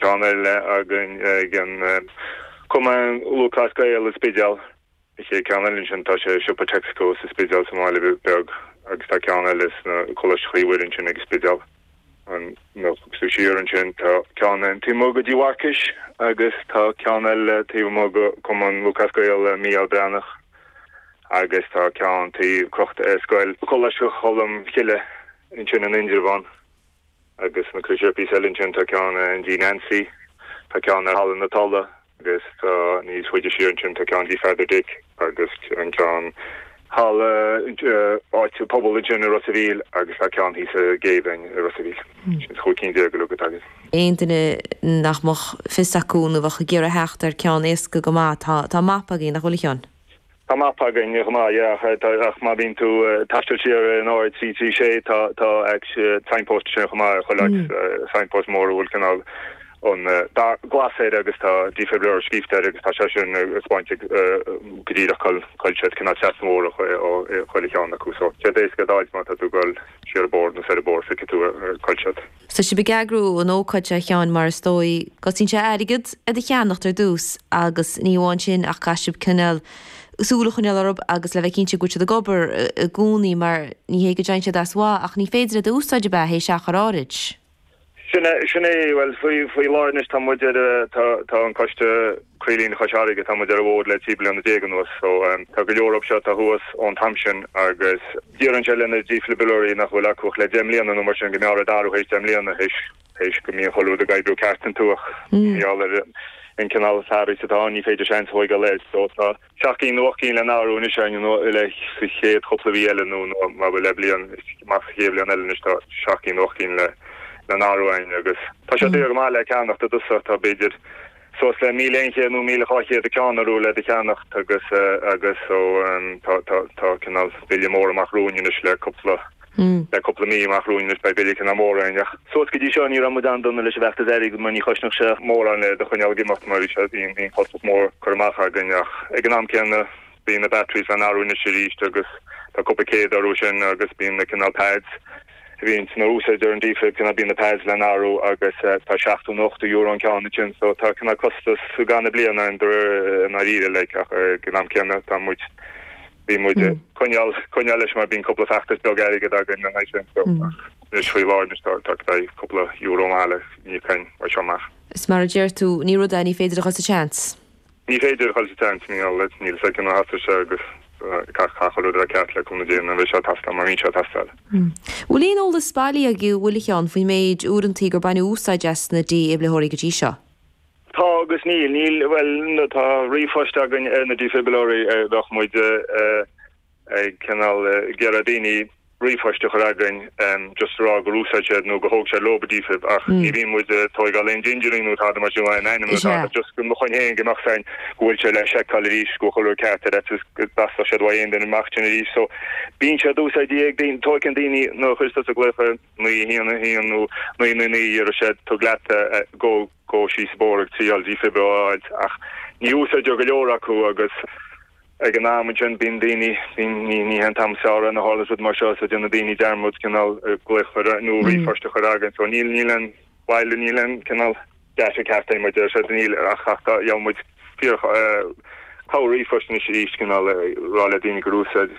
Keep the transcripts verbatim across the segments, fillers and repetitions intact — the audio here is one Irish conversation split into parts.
ceann eile againn ag an Cumann Lúthchleas Gael i Spidéal. An chéad ceann eile ansin tá sé i siopa Texaco sa Spidéal sa mbaile beag agus tá ceann eile sna Coláiste Chroí Mhuire ansin ag an Spidéal. An nó tú siar ansin tá ceann an taobh amuigh de Tigh Mharcais agus tá ceann eile taobh amuigh de Cumann Lúthchleas Gael Mícheál Breathnach agus tá ceann taobh crochta ar scoil Coláiste Cholm Cille ansin in Indreabhán agus na cuid píosa eile ansin tá ceann i dTigh Nancy tá ceann ar Halla na Tolla agus tá níos faide siar ansin tá ceann Tigh Pheadar Dick agus an ceann halla áit pobal ansin i Ros a' Mhíl agus tá ceann thíos sa Ghéibheann i Ros a' Mhíl. Sin chúig cinn déag uilig atá againn. Aon duine nach mbeadh fios acu nó bheadh ag iarraidh theacht ar ceann éasca go maith tá tá mapa againn nach bhfuil a Sheáin? Tá mapa againn chomh maith yeah ach má bhíonn tú taisteal siar an R trí trí sé tá tá signpost sin chomh maith chuile áit signpost mór a bhfuil cineál an dath glas air agus tá defibrillator scríofa air agus tá sé sin ag spáint go díreach cá bhfuil siad cineál trasna an bhóthair ó chuile cheann acu so sé éasca d'fháil má tá tú ag dul siar an bóthar nó soir an bóthar feicfidh tú cá bhfuil siad. Tá sibh ag eagrú an ócáid seo a Sheáin mar is dóigh costaíonn sé airgead iad a cheannacht ar dtús agus ní amháin sin ach caithfidh sibh cineál súil a choinneáil orthu agus le bheith cinnte go bhfuil siad ag obair i gcónaí mar ní hé go dtéann siad as mhaith ach ní féidir iad a úsáid ab ea théis achar áirid. Sin é sin é well faoi faoi láthair anois tá muid ar tá tá an coiste Croílíne Chois Fharraige tá muid ar an bhfód le trí bliana déag anuas so um, tá go leor seo tá thuas ón t-am sin agus deireann sé le na dífhibrileoirí nach bhfuil acu ach le deich mbliana nó mar sin go mb'fhearr iad a athrú théis deich mbliana théis théis go mbíonn chuile rud ag oibriú ceart iontu ach níl ar an cineál fearas atá ní féidir seans a thógáil air so tá seacht gcinn nó ocht gcinn le n-athrú anois nó le sa chéad chúpla mhí eile nó nó má bhfuil le bliain más sa chéad bhliain eile anois tá seacht gcinn nó ocht gcinn le le n-athrú againn agus tá sé daor go maith le ceannacht i dtosach tá b'fhéidir suas le míle aon chéad nó míle dhá chéad a ceann arú le do cheannacht agus agus so tá tá tá cineál bille mór amach romhainn anois le cúpla le cúpla mí amach romhainn anois beidh bille cineál mór againn ach suas go dtí seo ní raibh muid an-dona leis an bhfeachtas airgid mar ní chosnódh sé mórán le do choinneáil ag imeacht mar bhí sé bhí bhí costas mór cur amach againn ach ag an am céanna bíonn na batteries le n-athrú anois arís agus tá cúpla céad orthu sin agus bíonn na cineál pads a bhíonn san úsáid ar an defib cineál bíonn na pads le n-athrú agus tá seachtó nó ochtó euro an ceann sin so tá cineál costas gan na bliana an dáiríre like ach ag an am céanna tá muid bhí muid coinneáil coinneáil leis mar bíonn cúpla feachtas beag airgead againn an sin so anois faoi láthair anois tá tá beidh cúpla euro maith le ní cain mar seo amach. Is mar a deir tú ní rud é ní féidir a chur sa tseans. Ní féidir a chur sa tseans níl níl sé cinn a sé agus gach gach rud a ceart le cúnamh Dé an bheidh sé ag teastáil mar bhíonn sé ag teastáil. Bhfuil aon eolas bailí agaibh bhfuil a Sheáin faoin méid uaireantaí gur baineadh úsáid as na dífhibrileoirí go dtí seo. Tá agus níl níl well no, tá ríomhphost againn ar na dífhibrileoirí bheadh muid ag cineál iarraidh daoine ríomhphost a chur againn just rá gur úsáid siad nó go thóg sé leo defib ach ní bhíonn muid tógáil aon dingerí nó tada mar sin in ainm just go chun héin go mbeadh féin go bhfuil sé le seiceáil arís go chuir ceart ar go dteastódh siad uaidh aon duine amach sin arís so bíonn sé úsáidte ag daoine tógann daoine nó chuir sa glaoch naoi haon haon nó naoi naoi naoi ar sé tug leat go go síos bóthar ag triail defib a fháil ach ní úsáidear go leor acu agus ag an am sin bíonn daoine bíonn ní ní an t-am saoire na tharla rud mar seo so déanann daoine dearmad cineál glaoch nó ríomhphost a chur againn so níl níl an bhaile níl an cineál data ceart muid ar sé níl ach ach tá muid fíor cá ríomhphost anois arís cineál rá le daoine gur úsáid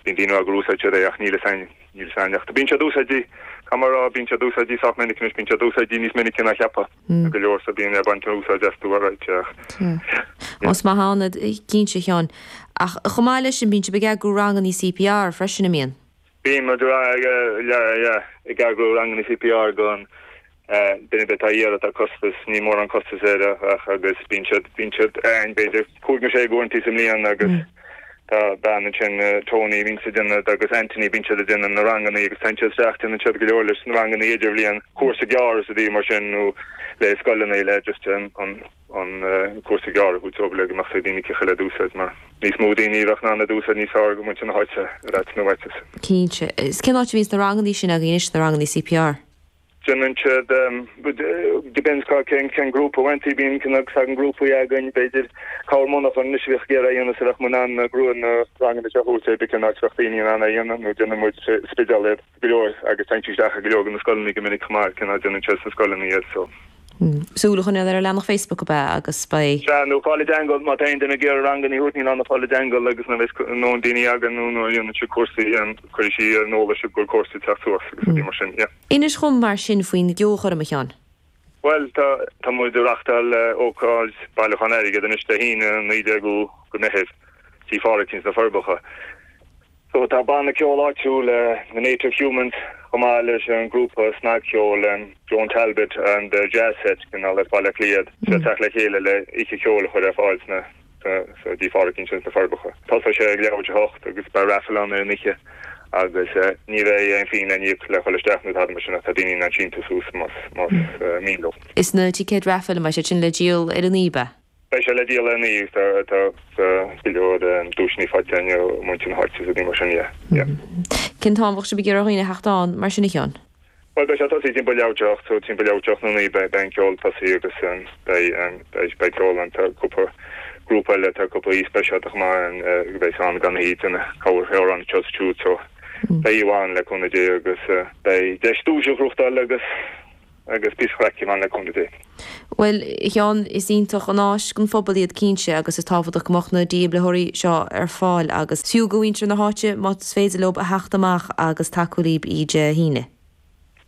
bíonn daoine gur úsáid siad é ach níl a níl ach bíonn sé úsáidte camrá bíonn sé úsáidte sách minic anois bíonn sé úsáidte níos minice ná cheapfá go leor sa bíonn ar baint úsáid astu right Os maith ann cinnte a Sheáin ach chomh maith leis sin bíonn sibh ag eagrú ranganna CPR freisin an mbíonn. Bíonn ag eagrú ranganna CPR go duine atá iarraidh tá costas ní mór an costas air ach agus bíonn siad bíonn siad ein b'fhéidir cúig nó sé uaireantaí sa mbliain agus tá bean ansin Tony bíonn sa déanamh agus Anthony bíonn siad ag déanamh na ranganna agus tá siad isteach déanann siad go leor leis na ranganna idirbhliain cúrsa gearr is a bhí mar sin nó le scoileanna le just an an an cúrsa gearr go dtug le go mbeadh daoine cé le d'úsáid mar níos mó daoine bheadh ná na d'úsáid níos fearr go muintir na háite ar nó áit. Cinnte is cén áit a bhíonn na ranganna sin againn anois na ranganna CPR. Déanann siad depends cá cén cén grúpa bhaintí bíonn cin agus an grúpaí againn b'fhéidir cá monarchan anois bheadh géar a dhéanamh sa bheadh muid an grú na ranganna seo thuas be cin áit bheadh daoine in ann a dhéanamh nó déanann muid Spidéal iad go leor agus tá isteach go leor na scoileanna go minic chomh maith cin déanann siad sna scoileanna iad so. Súil a choinneáil ar an leathanach Facebook ab ea agus beidh. Sea, nó fáil i dteagmháil, má tá aon duine ag iarraidh ranganna a thabhairt ní lán a fáil i dteagmháil agus nuair a bheas nó daoine againn nó nuair a dhéanann siad cúrsaí cuirfidh sí ar an eolas sibh go bhfuil cúrsaí ag teacht suas agus rudaí mar sin, yeah. Inis dhom mar sin faoin gceolchoirm, a Sheáin. Bhuel, tá tá muid ag reachtáil ócáid bailiúchán airgid anois Dé hAoine an naoi déag de Mheitheamh, Tigh Phádraig sna Forbacha. So tá banna ceoil áitiúil, The Native Humans, chomh maith leis an grúpa snagcheoil Joan Talbot and the Jazz Set, cineál as Baile Átha Cliath, ag teacht le chéile le oíche cheoil a chur ar fáil sna sa dTigh Phádraig ansin sna Forbacha. Tosóidh sé ag leathuair tar éis a hocht agus beidh raffle ann ar an oíche agus ní bheidh aon phingin le n-íoc le dhul isteach nó tada mar sin ach tá daoine in ann síntiús suas más más mian leo. Is na ticéid raffle an mbeidh siad sin le díol ar an oíche, ab ea? Beidh sé le díol ar an oíche agus tá tá go leor duaiseanna faighte againn ó mhuintir na háite is rudaí mar sin, yeah, yeah. Cén t-am a bheadh sibh ag iarraidh ar dhaoine a theacht ann mar sin a Sheáin? Bhuel beidh sé tosaithe timpeall leathuair tar éis a hocht, so timpeall leathuair tar éis a hocht nó naoi beidh beidh an ceol tosaithe agus beidh beidh beidh ceol ann, tá cúpla grúpa eile, tá cúpla aoi speisialta chomh maith ann a bheidh ann gan iad ina cabhair amhrán anseo is ansiúd so beidh oíche mhaith ann le cúnamh Dé agus beidh deis duais a ghnóthachtáil agus agus píosa craic ann le cúnamh Dé. Bhuel, a Sheáin, is iontach an áis don phobal iad cinnte agus is tábhachtach go mbeadh na dífhibrileoirí seo ar fáil agus fiú do mhuintir na háite más féidir leo a theacht amach agus tacú libh oíche Dé hAoine.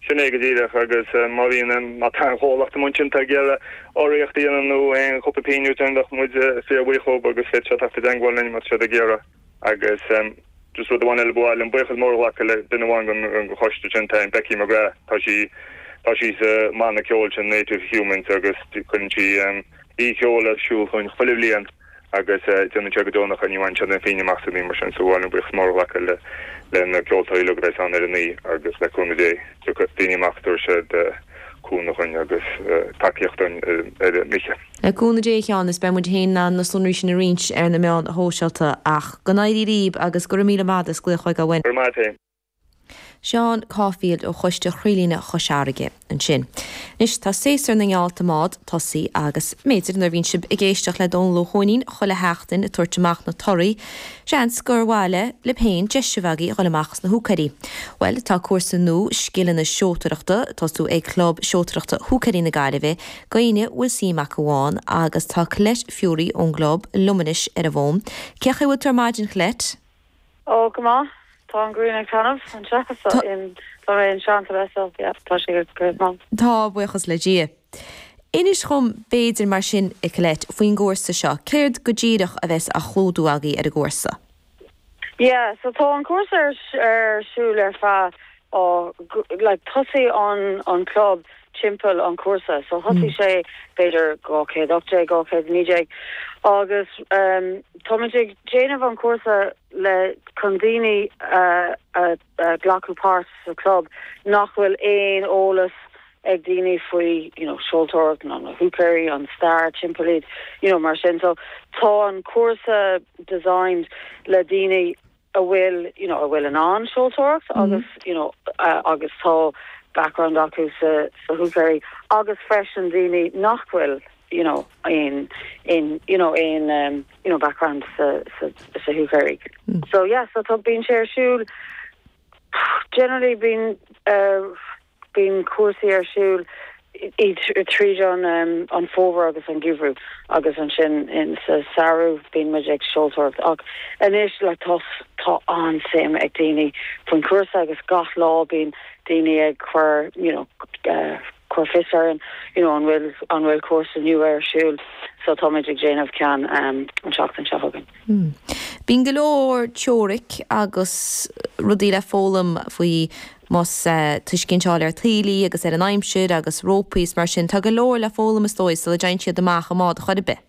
Sin é go díreach agus má bhíonn, má tá aon chomhlacht amuigh ansin atá ag iarraidh urraíocht a dhéanamh nó aon chúpla pingin a thabhairt bheadh muid fíorbhuíoch dhóibh agus féadfaidh siad teacht i dteagmháil linn má tá siad ag iarraidh agus Just rud amháin eile ba mhaith liom buíochas mór a ghlacadh le duine amháin den choiste sin, tá Becky McGrath, tá sí tá sí sa mbanna ceoil sin Native Humans agus cuireann sí oíche cheoil ar siúl chugainn chuile bhliain agus déanann sé go deonach é, ní bhaineann siad aon phingin amach as rudaí mar sin so ba mhaith liom buíochas mór a ghlacadh le le na ceoltóirí uilig a bheas ann ar an oíche agus le cúnamh Dé tiocfaidh daoine amach tabharfaidh siad cúnamh dhúinn agus tacaíocht dúinn ar an oíche. Le cúnamh Dé a Sheáin is beidh muid féin in ann na sonraí sin a roinnt ar na meáin shóisialta ach go n-éirí libh agus go raibh míle maith as glaoch chuig againn. Go raibh maith agat féin. Seán Caulfield ó Choiste Chroílíne Chois Fharraige ansin. Anois tá séasúr na ngeallta mbád tosaithe agus b'fhéidir nuair a bhíonn sibh ag éisteacht le Dónal Ó hUaithnín chuile sheachtain ag tabhairt amach na torthaí, seans gur mhaith libh féin deis a bheith agaibh a dhul amach sna húicéirí. Bhuel, tá cúrsa nua scileanna seoltóireachta ag tosú ag Club Seoltóireachta Húicéirí na Gaillimhe d'éinne a bhfuil suim acu ann agus tá Colette Furey ón gclub liom anois ar an bhfón. Cén chaoi a bhfuil tú ar maidin, Colette? Ó, go maith. Tá an ghrian ag taitneamh anseo so in tá mé in Seantrabh so yeah tá sé go maith. Tá, buíochas le Dia. Inis dhom b'fhéidir mar sin, a Colette, faoin gcúrsa seo. Céard go díreach a bheas á chlúdú agaibh ar an gcúrsa? Yeah, so tá an cúrsa ar ar siúl ar feadh ó like thosaigh an an club timpeall an cúrsa so thosaigh sé b'fhéidir dhá chéad ocht déag, dhá chéad naoi déag agus um táimid ag déanamh an cúrsa le chun daoine a a a glacadh páirt sa club nach bhfuil aon eolas ag daoine faoi you know seoltóireacht nó na húicéirí an stair timpeall iad you know mar sin so tá an cúrsa designed le daoine a bhfuil you know a bhfuil in ann seoltóireacht agus you know uh, agus tá background acu sa sa húicéirí agus freisin daoine nach bhfuil you know in in you know in um, you know background sa sa sa húicéirí mm. so yeah so tá bíonn sé ar siúl generally bíonn uh, bíonn cúrsaí ar siúl tríd an um, an fómhar agus an geimhreadh agus ansin in sa samhradh bíonn muid ag seoltóireacht ach anois le tá tá an-suim ag daoine faoin cúrsa agus gach lá bíonn daoine ag cur you know uh, cur fios ar an you know an bhfuil an bhfuil cúrsa nua ar siúl so táimid ag déanamh ceann um, an seachtain seo chugainn. Hmm. Bíonn go leor teoiric agus rudaí le foghlaim faoi más uh, tuiscint a fháil ar taoillí agus ar an aimsir agus rópaí is mar sin tá go leor le foghlaim is dóigh sula dtéann siad amach i mbád chor ar bith.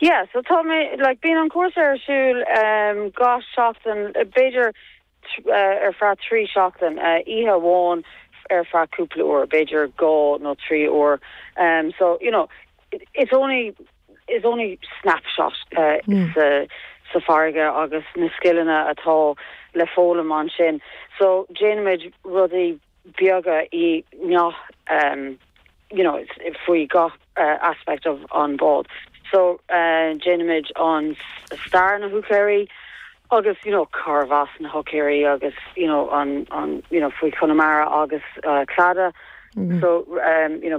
Yeah, so tá mé like bíonn an cúrsa ar siúl um, gach seachtain b'fhéidir uh, ar feadh trí seachtain uh, oíche amháin ar feadh cúpla uair, b'fhéidir dhá nó trí uair. Um, so you know, it, it's only it's only snapshot uh, mm. sa sa farraige agus na scileanna atá le foghlaim ansin. So déanaimid rudaí beaga i ngach um, you know, faoi gach uh, aspect of an bád. So uh, déanaimid an stair na húicéirí agus you know carbh as na húicéirí agus you know an an you know faoi Chonamara agus uh, Claddagh. Mm -hmm. So um, you know